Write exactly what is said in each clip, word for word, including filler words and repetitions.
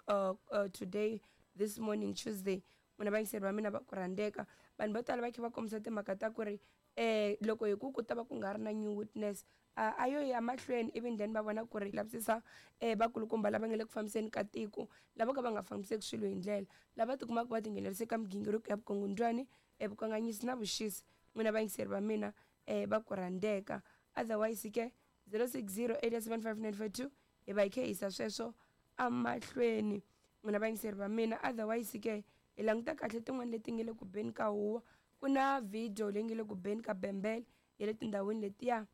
uh, uh, today this morning Tuesday n'wina vayingiseri va mina va ku rhandzeka vanhu vo tala va kha va kombisa timhaka ta ku ri um loko hi ku ku ta va ku nga ri na new witness a a yo ya mahlweni ivi then va vona ku ri lavisisa um vakulukumba lava nga le ku fambiseni ka tiko lava ka va nga fambiseki swilo hi ndlela lava tikumaka va tinghenelerisa ka migingiriko ya vukungundzwani um vukanganyisi na vuxisi n'wina vayingiseri va mina um va ku rhandzeka otherwise ke zero six zero eight seven five nine four two hi va hi kha hi yisa sweswo emahlweni n'wina vayingiseri va mina otherwise ke hi languta kahle tin'wani leti nga le ku beni ka huwa ku na video leyi nga le ku beni ka bembele ya le tindhawini letiya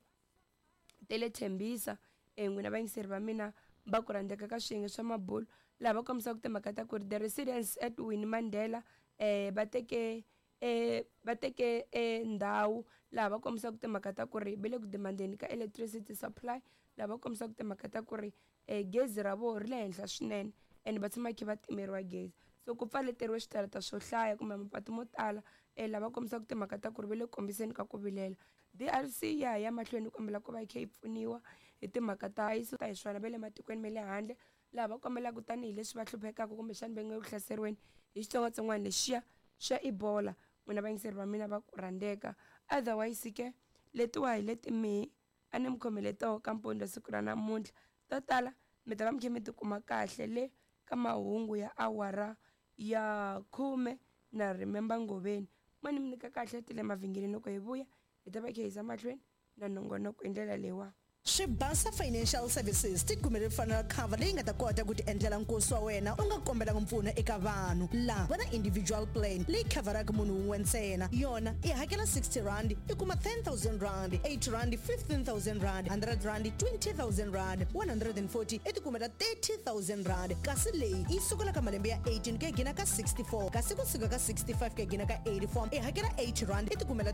ta le Tembisa um n'wina vayingiseri va mina va ku rhandzeka ka swiyenge swa mabulo laha va kombisaka timhaka ta ku ri the residents at Winnie Mandela um va teke um va teke um ndhawu laha va kombisaka timhaka ta ku ri va le ku demandeni ka electricity supply laha va kombisaka timhaka ta ku ri um gezi ra vona ri le henhla swinene and va tshama kha va timeriwa gezi so ku pfaleteriwe switarata swo hlaya kumbe mapatu mo tala um lava kombisaka timhaka ta ku ri va le ku kombiseni ka ku vilela D R C ya ha ya mahlweni kombela ku va yi kha yi pfuniwa hi timhaka ta ta hi swona va le matikweni ma le handle laha va kombelaka tanihileswi va hluphekaka kumbexani va nga ku hlaseriweni hi xitsongwatsongwana lexiya xa Ebola n'wina vayingiseri va mina va ku rhandzeka otherwise ke letiwa hi leti mihi a ni mi khomele toho ka mpundzu siku ra namuntlha to tala mi ta va mi kha mi tikuma kahle le ka mahungu ya awara ya khume na Remember Ngoveni mo ni mi nyika kahle ti le mavhengeleni loko hi vuya hi ta va hi kha hi yisa mahlweni na nongonoko hi ndlela leyiwa. Swibasa Financial Services ti kumele funeral cover leyi nga ta kota ku ti endlela nkosi wa wena u nga kombelanga mpfuno eka vanhu laha va na individual plan leyi khavharaka munhu wun'we ntsena yona i hakela sixty rand i kuma ten thousand rand, eighty rand fifteen thousand rand, hundred rand twenty thousand rand, one hundred forty i ti kumela thirty thousand rand. Kasi leyi yi sukela ka malembe ya eighteen ku ya gina ka sixty-four, kasi kusuka ka sixty-five ku ya gina ka eighty-four i hakela eighty rand i ti kumela